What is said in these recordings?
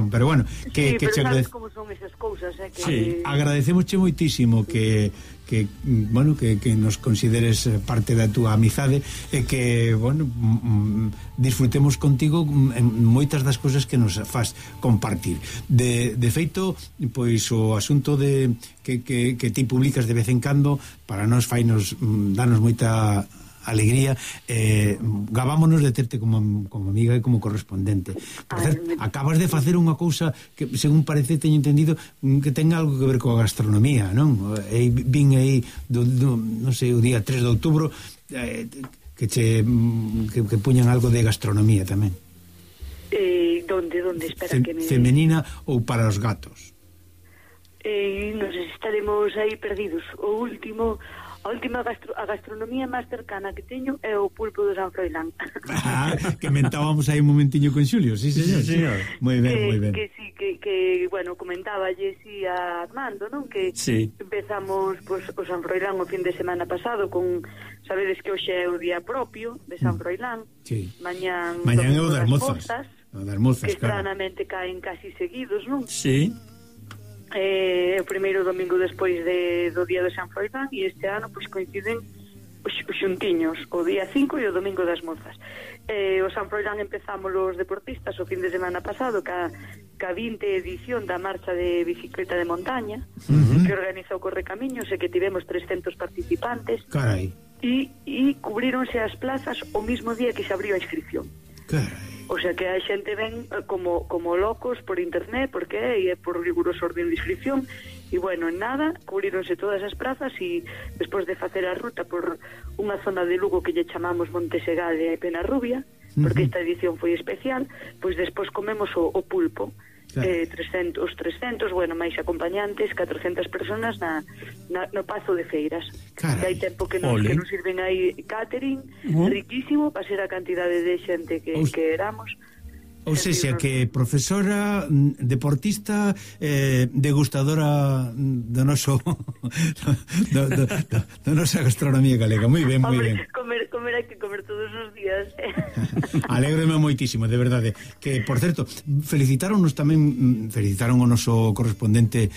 Pero bueno, que sabes como son esas cousas, que sí. Agradecemosche moitísimo que nos consideres parte da túa amizade e que, disfrutemos contigo en moitas das cousas que nos faz compartir. De feito, pois o asunto de que ti publicas de vez en cando para nós danos moita alegría, gabámonos de terte como amiga e como correspondente. Por certo, acabas de facer unha cousa que, según parece, teño entendido que ten algo que ver coa gastronomía, non? Vin aí non sei, o día 3 de outubro que puñan algo de gastronomía tamén. Donde? Espera que me... Femenina ou para os gatos? Nos estaremos aí perdidos. A última gastronomía máis cercana que teño é o pulpo de San Froilán. Que mentábamos aí un momentiño con Xulio. Sí, señor. Sí, señor. Moi ben. Que sí, que comentáballe si a Armando, non? Que empezamos o San Froilán o fin de semana pasado con, sabedes que hoxe é o día propio de San Froilán. Sí. Mañán é o das mozas. Que estranamente caen casi seguidos, non? Sí. O primeiro domingo despois do día de San Froilán, e este ano pois coinciden os xuntiños, o día 5 e o domingo das mozas. O San Froilán empezamos os deportistas o fin de semana pasado ca 20 edición da marcha de bicicleta de montaña, que organizou Correcamiños e que tivemos 300 participantes. Carai. E cubríronse as plazas o mismo día que se abriu a inscripción. Carai. O sea que a xente ven como locos por internet, porque é por riguroso orden de inscripción, e en nada, cubríronse todas as plazas, e despois de facer a ruta por unha zona de Lugo que lle chamamos Montesegade e Penarrubia, porque esta edición foi especial, pois despois comemos o pulpo. 300, máis acompañantes, 400 personas no Pazo de Feiras. Que hai tempo que nos sirven aí catering, riquísimo, para ser a cantidade de xente que éramos. Ou seja, que profesora, deportista, degustadora do noso da nosa gastronomía galega. Moi ben, moi ben. Comer hai que comer todos os días. Alégrome moitísimo, de verdade. Que, por certo, felicitaron o noso correspondente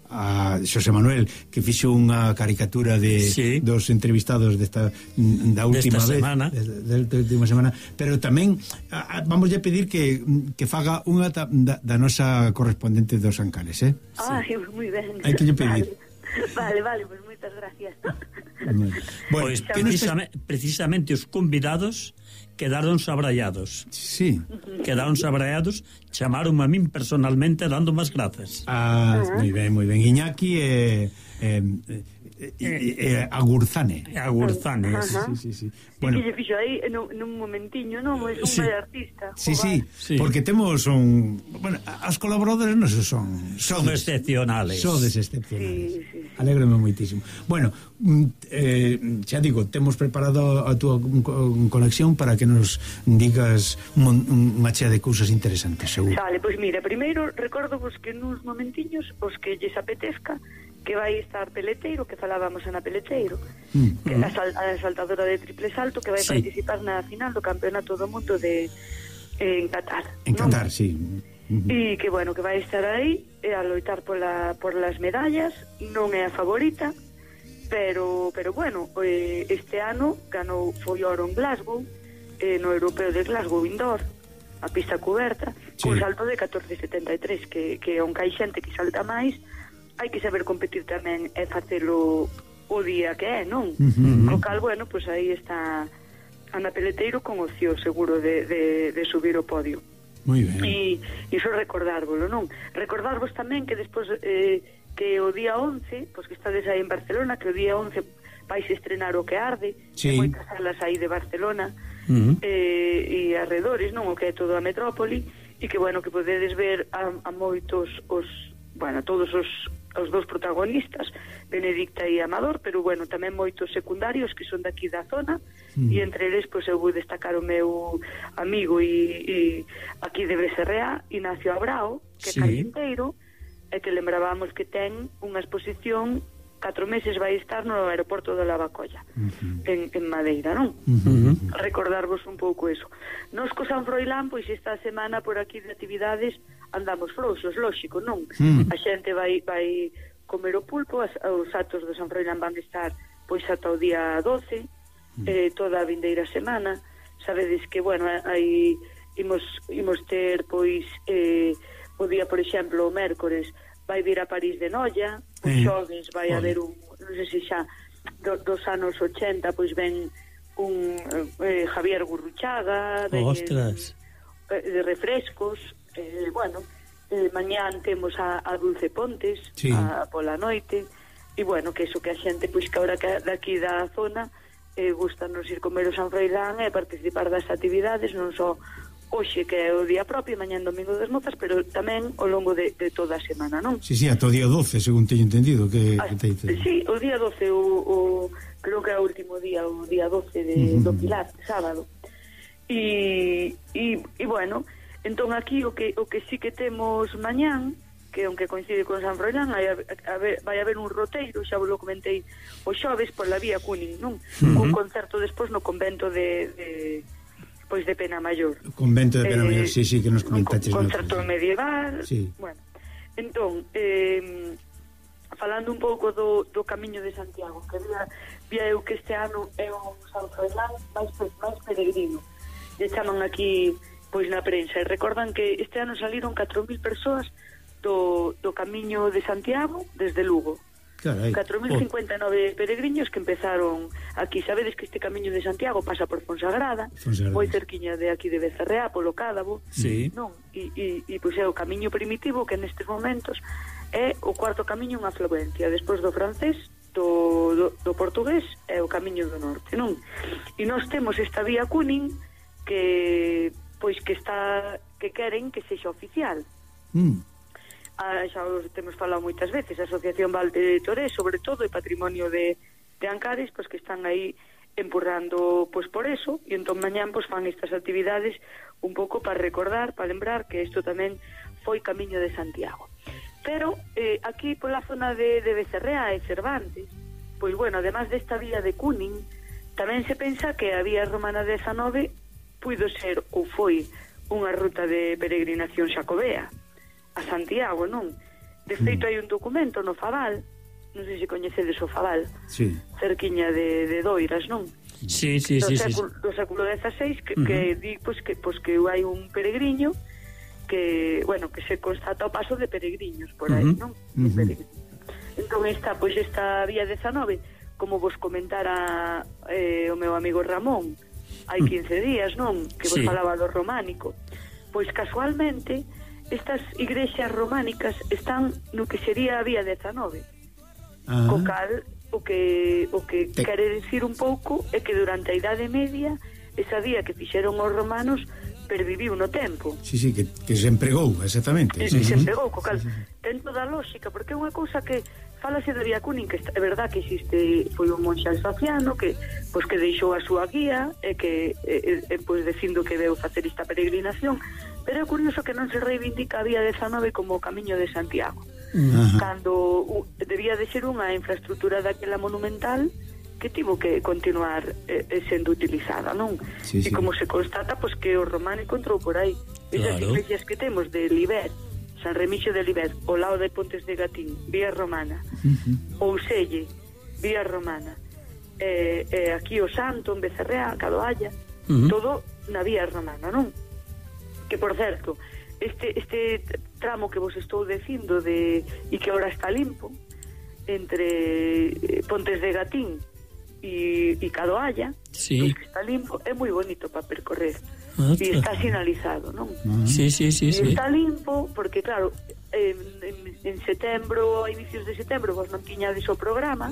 a Xosé Manuel, que fixo unha caricatura dos entrevistados da última vez, da última semana, pero tamén vamos a pedir que faga unha da nosa correspondente dos Ancares, moi ben. Hai que lle pedir. Vale, pues moitas gracias. Pois precisamente os convidados quedaron sabrallados. Sí. Quedaron sabrallados, chamaron a min personalmente dando máis grazas. Moi ben. Iñaki Agurzane. Sí. Bueno, que se fixo aí nun momentiño, non? É un bel artista. Sí, porque temos as colaboradores nosos son excepcionales. Sodes excepcionales. Sí. Alégrome moitísimo. Bueno, xa digo, temos preparado a túa conexión para que nos digas unha chea de cousas interesantes, seguro. Vale, pois mira, primeiro recordovos que nuns momentiños os que lles apetezca que vai estar Peleteiro, que falábamos na Peleteiro, que é a saltadora de triple salto, que vai participar na final do Campeonato do Mundo en Qatar. En Qatar, sí. E que, que vai estar aí a loitar por las medallas. Non é a favorita, pero este ano foi oro en Glasgow, no Europeo de Glasgow Indoor, a pista coberta, con salto de 14,73, que aunque hai xente que salta máis, hai que saber competir tamén e facelo o día que é, non? Co cal, pois aí está Ana Peleteiro con opción seguro de subir o podio. Moi ben. E iso recordárvolo, non? Recordarvos tamén que despois que o día 11, pois que estades aí en Barcelona, que o día 11 vais estrenar o que arde, moitas salas aí de Barcelona e arredores, non? O que é toda a metrópoli, e que, que podedes ver a moitos todos os dous protagonistas, Benedicta e Amador, pero tamén moitos secundarios que son daqui da zona, e entre eles eu vou destacar o meu amigo e aquí de Becerrea, Ignacio Abrao, que é carpinteiro, e que lembrábamos que ten unha exposición 4 meses vai estar no aeroporto de Lavacolla, en Madeira, non? Recordarvos un pouco eso. Nos co San Froilán, pois esta semana por aquí de actividades andamos frouxos, lóxico, non? A xente vai comer o pulpo, os actos do San Froilán van estar pois ata o día 12, toda a vindeira semana. Sabedes que, bueno, aí imos ter, pois, o día, por exemplo, o mércores, vai vir a París de Noia, os xoves vai haber un, non sei se xa dos anos 80, pois ven un Javier Gurruchaga, de refrescos, bueno, mañán temos a Dulce Pontes, pola noite, e bueno, que eso que a xente, pois que ahora que daqui da zona gustanos ir comer o San Froilán e participar das actividades, non só hoxe que é o día propio, mañán domingo das mozas, pero tamén ao longo de toda a semana, non? Sí, ata o día 12, según teño entendido que sí, o día 12 creo que é o último día, o día 12 do Pilar, sábado. E bueno, entón aquí o que sí que temos mañán, que aunque coincide con San Froilán, vai haber un roteiro, xa vos lo comentei os xoves pola vía Cunin, non? Un concerto despois no convento de Pena Maior. O convento de Pena Maior, sí, que nos comentaches. Un concerto medieval. Sí. Bueno, entón, falando un pouco do Camiño de Santiago, que vía eu que este ano é un San Froilán máis peregrino. E chaman aquí, pois na prensa, e recordan que este ano saliron 4.000 persoas do Camiño de Santiago desde Lugo. 4.059 peregrinos que empezaron aquí. Sabedes que este Camiño de Santiago pasa por Fonsagrada, moi cerquiña de aquí de Becerreá, polo Cádabo, non? E pois é o camiño primitivo que nestes momentos é o cuarto camiño en afluencia, despois do francés, do portugués, é o Camiño do Norte, non? E nós temos esta vía Cunin que pois que queren que sexa oficial. Xa os temos falado moitas veces, a Asociación Val de Toré, sobre todo, e Patrimonio de Ancares, pois que están aí empurrando pois por eso, e entón mañán pois fan estas actividades un pouco para recordar, para lembrar que isto tamén foi Camiño de Santiago. Pero aquí pola zona de Becerrea e Cervantes, pois bueno, además desta vía de Cunin, tamén se pensa que a vía romana 19 puido ser ou foi unha ruta de peregrinación xacobea a Santiago, non? De feito hai un documento no Fabal, non sei se coñecedes o Fabal, cerquiña de Doiras, non? Sí. Do século XVI que di pois que hai un peregriño que, bueno, que se constata o paso de peregrinos por aí, non? Entón esta vía 19, como vos comentara o meu amigo Ramón hai 15 días, non? Que vos falaba do románico, pois casualmente estas igrexas románicas están no que sería a vía 19. Co cal, o que quere decir un pouco é que durante a Idade Media esa vía que fixeron os romanos perviviu no tempo. Sí, que se empregou, exactamente. Se empregou, co cal ten toda a lógica, porque é unha cousa que fálase da vía Cunin, que é verdad que existe, foi un monxe alsaciano que deixou a súa guía e que pois dicindo que veu facer esta peregrinación, pero é curioso que non se reivindica a vía 19 como o Camiño de Santiago, cando debía de ser unha infraestructura daquela monumental que tivo que continuar sendo utilizada, non? E como se constata, pois que o románico entrou por aí. Esas iglesias que temos de Libet, San Remixio de Libet, ao lado de Pontes de Gatín, vía romana, Ouselle, vía romana, aquí o Santo, en Becerrea, Cadoalla, todo na vía romana, non? Que, por certo, este tramo que vos estou dicindo e que ahora está limpo, entre Pontes de Gatín e Cadoalla, que está limpo, é moi bonito para percorrer. E está sinalizado, non? Sí. Está limpo porque, claro, en setembro, a inicios de setembro, vos non tiñades o programa,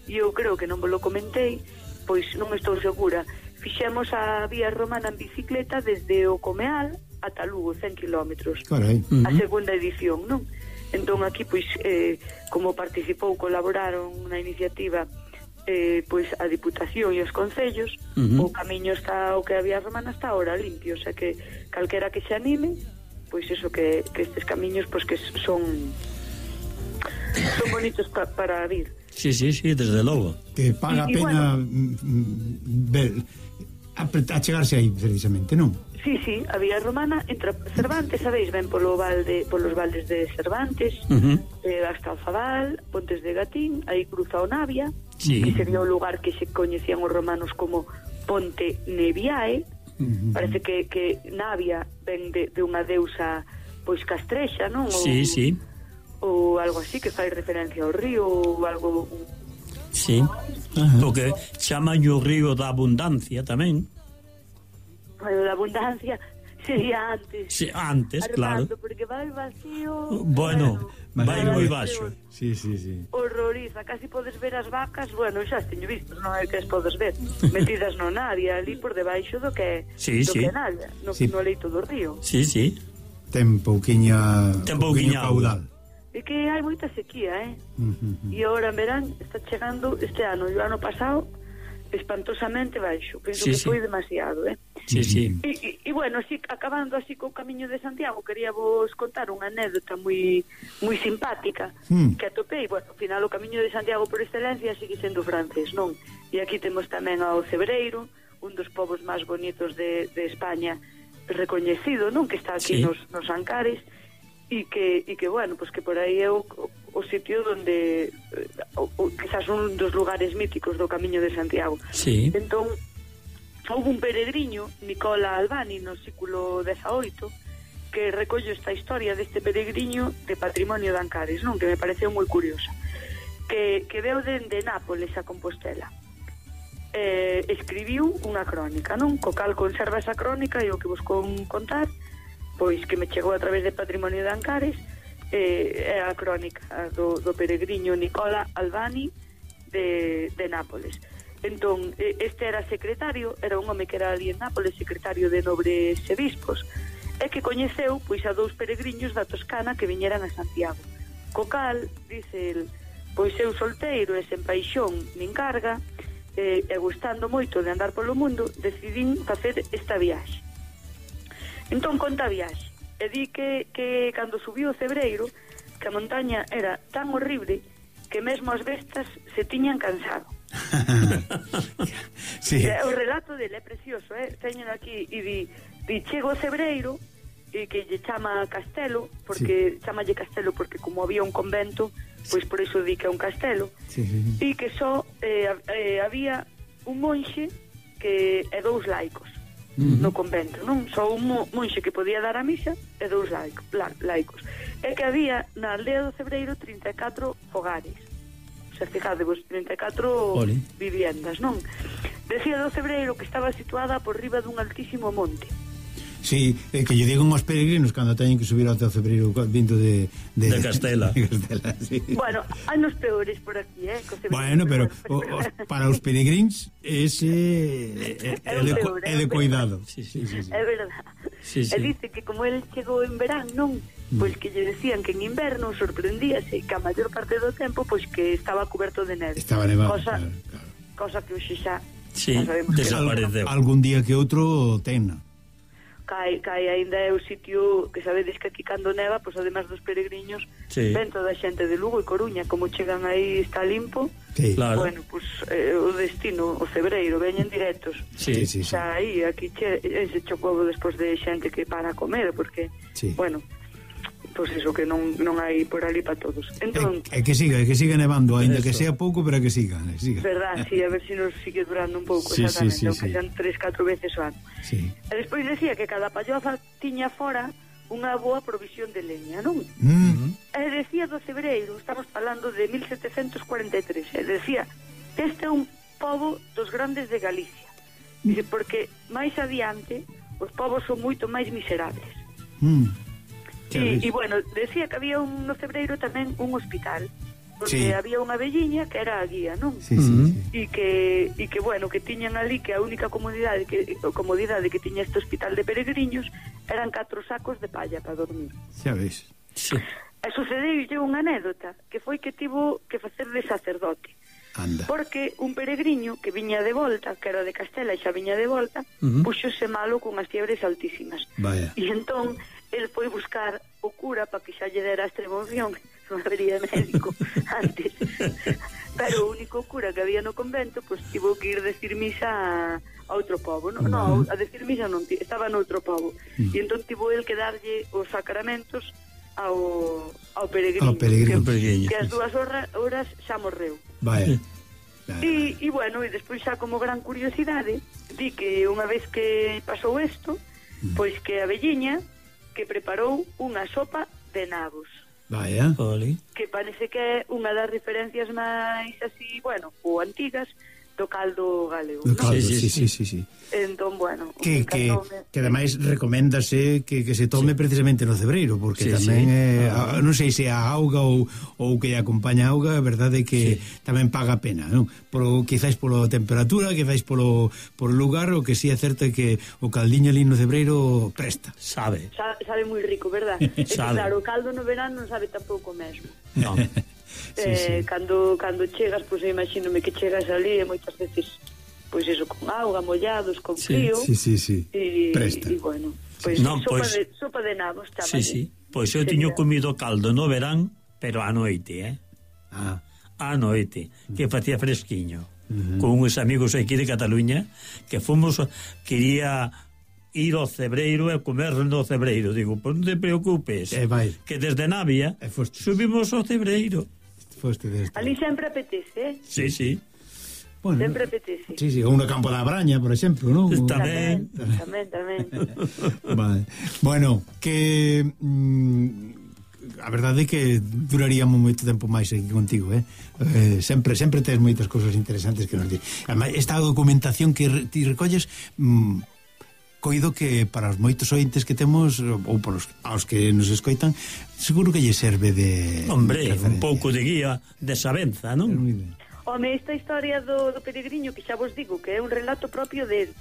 e eu creo que non vos lo comentei, pois non estou segura. Fixemos a vía romana en bicicleta desde o Comeal ata Lugo, 100 kilómetros. A segunda edición, non? Entón aquí, pois, como colaboraron na iniciativa pois a Diputación e os concellos, o camiño está, o que a vía romana está ahora limpio, o sea que calquera que se anime, pois eso, que estes camiños pois que son bonitos para vir. Sí, desde logo. Que paga a pena ver, achegarse aí precisamente, non? Sí, a vía romana entra Cervantes, sabéis, ven polos valdes de Cervantes, hasta Alfabal, Pontes de Gatín, aí cruza o Navia, que sería o lugar que se coñecían os romanos como Ponte Neviae. Parece que Navia ven de unha deusa pois castrexa, non? Ou algo así, que fai referencia ao río ou algo. Sí, porque chaman o río da abundancia tamén. Bueno, da abundancia sería antes. Sí, antes, claro. Porque vai vacío. Bueno, vai moi baixo. Sí. Horroriza, casi podes ver as vacas, bueno, xa as teño visto, non é que as podes ver, metidas no Navia, ali por debaixo do que Navia, no leito do río. Sí. Ten pouquiña caudal. E que hai moita sequía, E agora en verán está chegando este ano, e o ano pasado espantosamente baixo, penso que foi demasiado, Sí. E bueno, así, acabando así co Camiño de Santiago, quería vos contar unha anécdota moi simpática que atopei. Bueno, ao final o Camiño de Santiago por excelencia sigue sendo francés, non? E aquí temos tamén ao Cebreiro, un dos povos máis bonitos de España, recoñecido, non? Que está aquí nos Ancares, e que bueno, pues que por aí é o sitio donde quizás un dos lugares míticos do Camiño de Santiago. Entón, houve un peregriño, Nicola Albani, no século XVIII, que recolle esta historia deste peregriño de patrimonio de Ancares, non? Que me pareceu moi curiosa, que veu dende Nápoles a Compostela. Escribiu unha crónica, non? Co cal conserva esa crónica, e o que vos contar, pois que me chegou a través de Patrimonio de Ancares, é a crónica do peregriño Nicola Albani de Nápoles. Entón, este era secretario, era un home que era ali en Nápoles, secretario de nobres e bispos, e que coñeceu pois a dous peregriños da Toscana que viñeran a Santiago. Co cal, dice el, pois eu solteiro e sen paixón nin carga, e gustando moito de andar polo mundo, decidín facer esta viaxe. Entón conta a viaxe, e di que cando subiu o Cebreiro, que a montaña era tan horrible que mesmo as bestas se tiñan cansado. O relato dele é precioso, teñen aquí, e di chego o Cebreiro, e que lle chama Castelo, porque chamalle Castelo porque como había un convento, pois por iso di que é un castelo, e que só había un monxe e dous laicos no convento, non? Só un monxe que podía dar a misa e dous laicos. E que había na aldea do Cebreiro 34 fogares. O sea, fijadevos, 34 viviendas, non? Decía do Cebreiro que estaba situada por riba dun altísimo monte. Sí, que lle digan aos peregrinos cando teñen que subir ao Cebreiro vindo de Castela. Sí. Bueno, hai nos peores por aquí, Bueno, pero para os peregrins ese é de cuidado. Sí. É verdad. E dice que como el chegou en verán, non? Pois que lle decían que en inverno sorprendíase que a maior parte do tempo pois que estaba coberto de neve. Estaba nevado, cosa que hoxe xa desapareceu. Algún día que outro tena. Cai ainda é o sitio que sabedes que aquí cando neva, pois además dos peregriños, ven toda a xente de Lugo e Coruña, como chegan aí está limpo. Claro. Bueno, pois o destino, o Cebreiro, veñen directos. Xa aí, aquí ese chocobo despois de xente que para a comer, porque, bueno, pois iso que non hai por ali para todos. Entón, que siga nevando, ainda que sea pouco, pero que siga. Verdad, a ver se nos sigue durando un pouco, exactamente, aunque sean 3-4 veces o ano. E despois decía que cada palloza tiña fora unha boa provisión de leña, non? E decía do Cebreiro, estamos falando de 1743, e decía, este é un pobo dos grandes de Galicia. Dice, porque máis adiante os povos son moito máis miserables. E bueno, decía que había no Cebreiro tamén un hospital, porque había unha velliña que era a guía, non? E que bueno, que tiñan ali que a única comodidade que tiña este hospital de peregriños eran 4 sacos de palla para dormir. Xa ves. E sucedeulle unha anécdota que foi que tivo que facer de sacerdote. Anda. Porque un peregriño que viña de volta, que era de Castela e xa viña de volta, puxose malo con as fiebres altísimas. Vaya. E entón el foi buscar o cura para que xa lle dera a extrema unción non habería médico antes. Pero o único cura que había no convento, pois tivo que ir decir misa a outro pobo, non, a decir misa non, estaba noutro pobo. E entón tivo el que darlle os sacramentos ao peregrino, que as 2 horas xa morreu. Vaya. E bueno, e despois xa como gran curiosidade, di que unha vez que pasou isto, pois que a velliña que preparou unha sopa de nabos. Vaya. Que parece que é unha das referencias máis así, bueno, ou antigas do caldo galego. Do caldo, sí. Entón, bueno, que ademais recoméndase que se tome precisamente no cebreiro, porque tamén non sei se a auga ou que acompaña a auga, a verdade é que tamén paga a pena, non? Quizáis polo temperatura, quizáis polo lugar, o que sí é certo é que o caldiño ali no cebreiro presta. Sabe moi rico, verdad? Claro, o caldo no verano non sabe tampouco mesmo. Non. Cando chegas, pois imagínome que chegas ali e moitas veces pois eso, con auga, mollados, con frío. Presta. E bueno, pois sopa de nabos, chamase. Sí. Pois eu tiño comido caldo no verán, pero a noite, a noite, que facía fresquiño, con uns amigos aquí de Cataluña, que quería ir ao cebreiro e comer no cebreiro. Digo, pois non te preocupes, que desde Navia subimos ao cebreiro. Ali sempre apetece, Sí. Bueno, sempre apetece. Sí, ou no campo da Braña, por exemplo, non? Tamén. Vale. Bueno, que a verdade é que duraríamos moito tempo máis aquí contigo, sempre tes moitas cousas interesantes que nos dir. Ademais, esta documentación que ti recolles, coido que para os moitos ointes que temos, ou para aos que nos escoitan, seguro que lle serve de... Hombre, un pouco de guía, de sabenza, non? Home, esta historia do peregriño, que xa vos digo que é un relato propio del,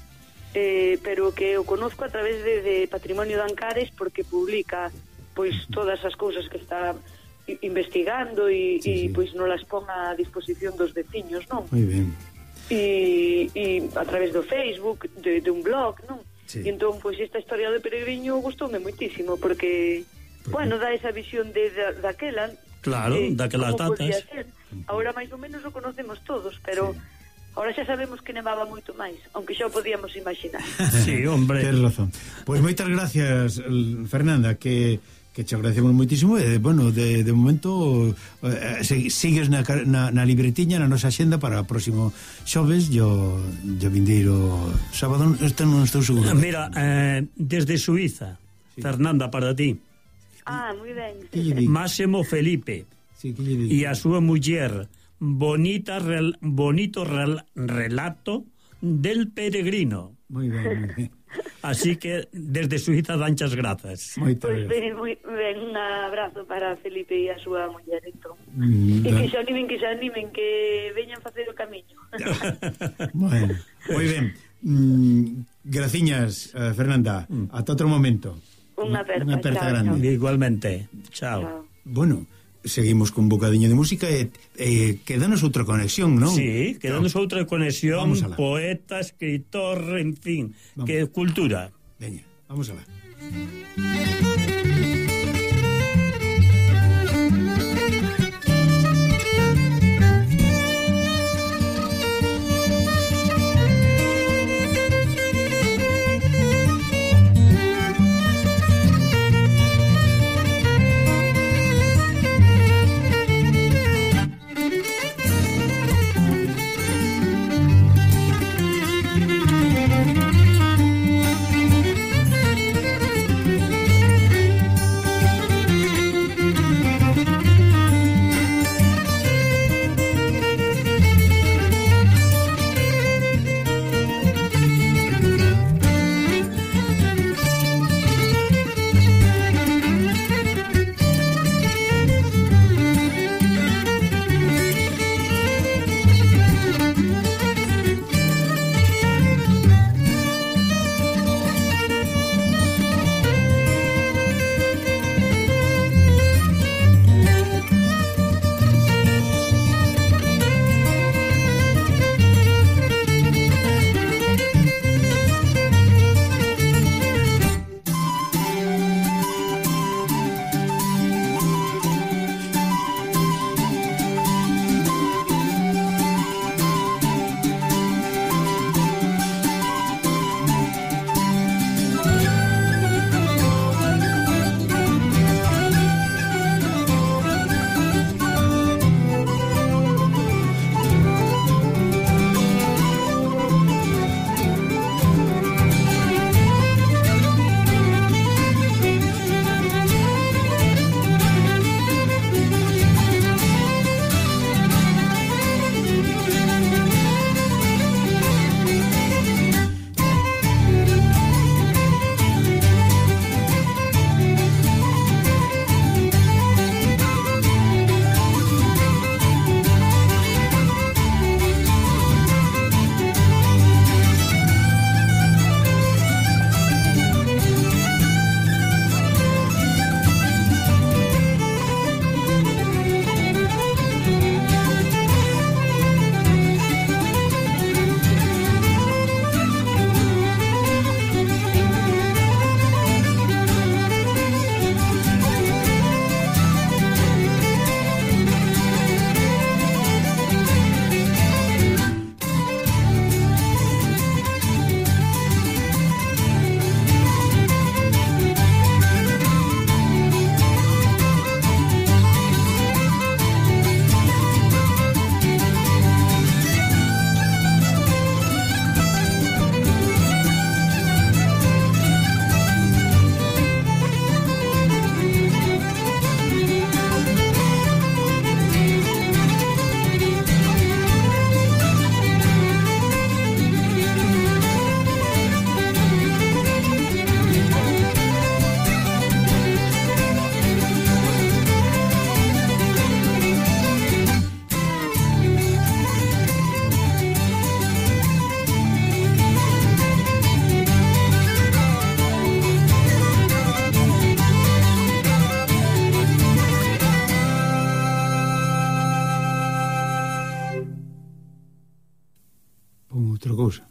pero que o conozco a través de Patrimonio de Ancares, porque publica pois todas as cousas que está investigando e pois non las pon a disposición dos veciños, non? Moi ben. E a través do Facebook, de un blog, non? E entón, pois esta historia do peregriño gustoume moitísimo, porque bueno, dá esa visión daquela. Claro, daquelas datas. Agora máis ou menos o conocemos todos, pero agora xa sabemos que nevaba moito máis, aunque xa o podíamos imaginar. Sí, hombre. Tens razón. Pois moitas gracias, Fernanda, que te agradecemos moitísimo, e bueno, de momento sigues na libretiña, na nosa axenda para o próximo xoves, yo vindeiro sábado, este non estou seguro. Mira, desde Suiza, Fernanda, para ti. Moi ben. Máximo Felipe e a súa muller, bonito relato del peregrino. Moi ben. Así que desde Suiza danchas grazas. Pois ben, un abrazo para Felipe e a súa muller, entón. E que se animen, que veñan facer o camiño. Bueno, moi ben. Graciñas, Fernanda. Ata outro momento. Unha aperta grande. Igualmente. Chao. Bueno, seguimos con un bocadiño de música e quedanos outra conexión, non? Sí, quedanos outra conexión, poeta, escritor, en fin, que cultura. Veña, vamos alá. con outra cousa.